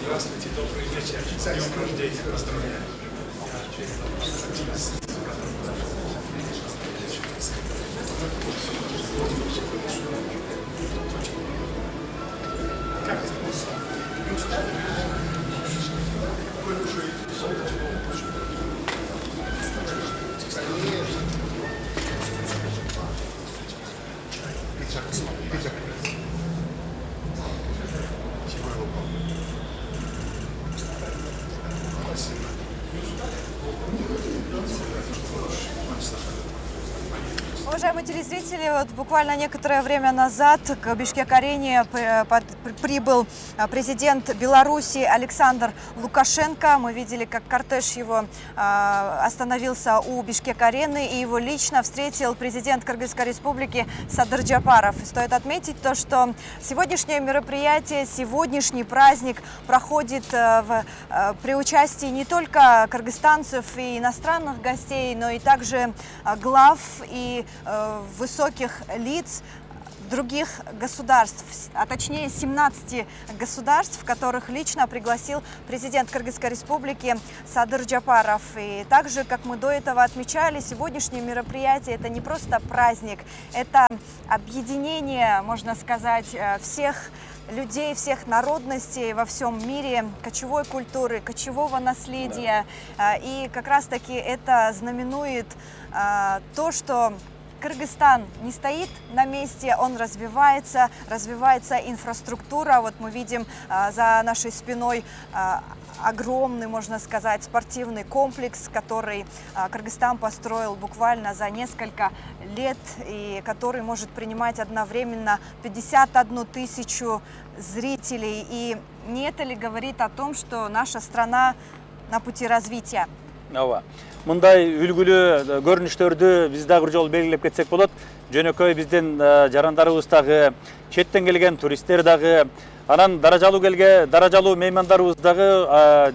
Здравствуйте, добрый вечер. С днем рождения поздравляю. Как это? Не устали? Вы уже Уважаемые телезрители, вот буквально некоторое время назад к Бишкек-арене прибыл президент Беларуси Александр Лукашенко. Мы видели, как кортеж его остановился у Бишкек-арены, и его лично встретил президент Кыргызской республики Садыр Джапаров. И стоит отметить то, что сегодняшнее мероприятие, сегодняшний праздник проходит при участии не только кыргызстанцев и иностранных гостей, но и также глав и высоких лиц других государств, а точнее 17 государств, которых лично пригласил президент Кыргызской республики Садыр Джапаров. И также, как мы до этого отмечали, сегодняшнее мероприятие — это не просто праздник, это объединение, можно сказать, всех людей, всех народностей во всем мире, кочевой культуры, кочевого наследия. И как раз-таки это знаменует то, что Кыргызстан не стоит на месте, он развивается инфраструктура. Вот мы видим за нашей спиной огромный, можно сказать, спортивный комплекс, который Кыргызстан построил буквально за несколько лет и который может принимать одновременно 51 тысячу зрителей. И не это ли говорит о том, что наша страна на пути развития? Мындай үлгүлүү көрүнүштөрдү биз дагы бир жолу белгилеп кетсек болот. Жөнөкөй биздин жарандарыбыз дагы, четтен келген туристтер дагы, анан даражалуу меймандарыбыз дагы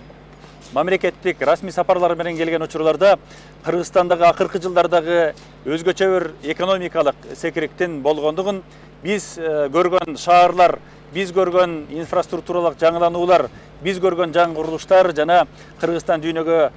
мамлекеттик расмий сапарлар менен келген учурларда Кыргызстандагы акыркы жылдардагы өзгөчө бир экономикалык секириктин болгондугун, биз көргөн шаарлар, биз көргөн инфраструктуралык жаңылануулар, биз көргөн жаңы курулуштар жана Кыргызстан дүйнөгө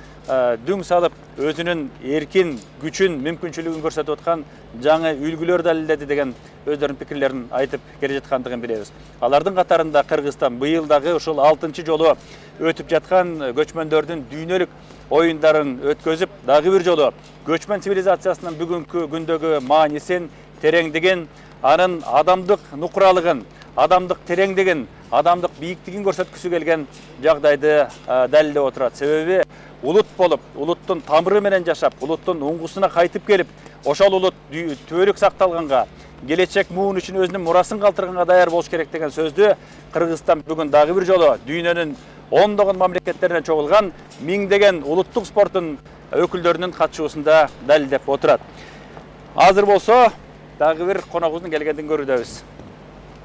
дүң салып өзүнүн эркин, күчүн, мүмкүнчүлүгүн көрсөтүп аткан жаңы үлгүлөр далилдеди деген өздөрүнүн пикирлерин айтып келе жаткандыгын билебиз. Алардын катарында Кыргызстан быйыл дагы ушул 6-чы жолу өтүп жаткан көчмөндөрдүн дүйнөлүк оюндарын өткөзүп, дагы бир жолу көчмөн цивилизациясынын бүгүнкү күндөгү маанисин, тереңдигин, анын адамдык нукуралыгын, адамдык тереңдигин, адамдык бийиктигин көрсөткүсү келген жагдайды далилдеп отурат. Себеби улут болуп, улуттун тамыры менен жашап, улуттун уңгусуна кайтып келип, ошол улут түбөлүк сакталганга, келечек муун үчүн өзүнүн мурасын калтырганга даяр болуш керек деген сөздү Кыргызстан бүгүн дагы бир жолу дүйнөнүн ондогон мамлекеттеринен чогулган миңдеген улуттук спорттун өкүлдөрүнүн катышуусунда далилдеп отурат. Азыр болсо дагы бир коногубуздун келгендигин көрүүдөбүз.